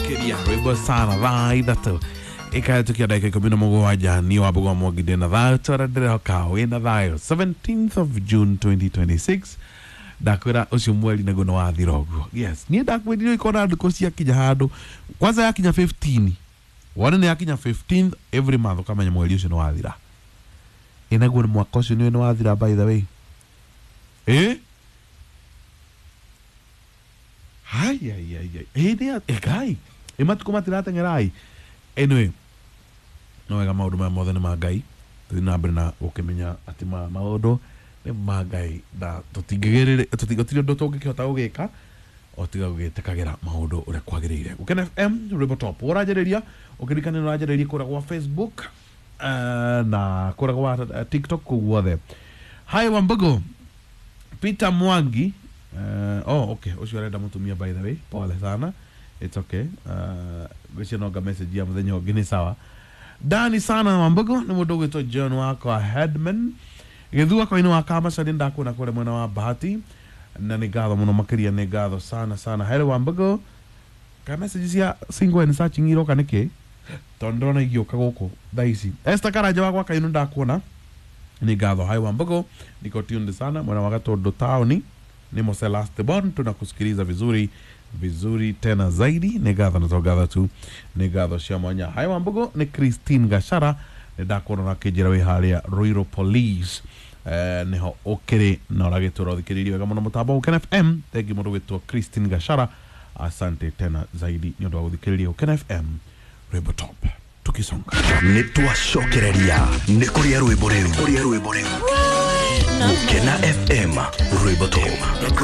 Makiria rwimbo sana thaa 3 ikahetũkia ndagĩka 17 niĩ Wambũgũ wa Mwangi ndĩ na thayũ twara ndĩrehoka wĩna thayũ. 17th of June 2026, ndakwĩra ũcio mweri naguo nĩ wathira ũguo. Yes, niĩ ndakwĩrire ikona ndukũ ciakinya handũ kwanza yakinya 15, wone nĩ yakinya 15th every month, ũkamenya mweri ũcio nĩ wathira. Ĩ naguo nĩ mwaka ũcio nĩ wathira, by the way. Ĩ hai ai ai ai, ĩ nĩ ĩ ngai ĩ matukũ matirateng'erai. Anyway, no wega, maũndũ maya mothe nĩ ma Ngai. Tũthiĩ na mbere na gũkĩmenya atĩ maũndũ nĩ ma Ngai na tũtingĩgĩrĩrĩ gũtirĩ ũndũ tũngĩkĩhota gũgĩka o tiga gũgĩtĩkagĩra maũndũ ũrĩa kwagĩrĩire. Gũkena FM, rwĩmbo top. Ũranjarĩria ũkĩririkana nĩ ũranjarĩria kũrĩa gwa Facebook na kũrĩa gwa TikTok, kũu guothe. Hi Wambugu, Peter Mwangi. Oh, okay, ũcio arenda mũtumia, by the way. Pole sana, it's okay. Ngwĩciria no nga message ya mũthenya ũngĩ nĩ sawa. Dani sana Wambugu, nĩ mũndũ ũgwĩtwo John wakwa Headman gĩthua koinĩ wa Kamacaria, ndakuona kũrĩa mwena wa Bahati na nĩ ngatho mũno makĩria, nĩ ngatho sana sana. Hello Wambugu, ka message cia single and searching iroka nĩkĩ, tondũ ndĩrona igĩũka gũkũ thaa ici. Esther Karanja wa gwa Kainũ, ndakuona, nĩ ngatho. Hi Wambugu, niko tuned sana mwena wa Gatundu taoni, ni Mose last born, tunakusikiliza vizuri vizuri tena zaidi, nĩ ngatho na to ngatho tu, nĩ ngatho cia mwanya. Hi Wambugu, nĩ Christine Gashara, nĩ ndakuona na kĩnjĩra wĩ harĩa Ruiru Police, nĩho ũkĩrĩ na ũragĩtũra ũthikĩrĩirie wega mũno mũtambo Gũkena FM. Thengi mũndũ gwĩtwo Christine Gashara, asante tena zaidi nĩ ũndũ wa gũthikĩrĩria Gũkena FM, rwĩmbo top, tukisonga. Nĩ twacokereria nĩ kũrĩa rwĩmbo rĩu, kũrĩa rwĩmbo rĩu. Gũkena FM, rwĩmbo top.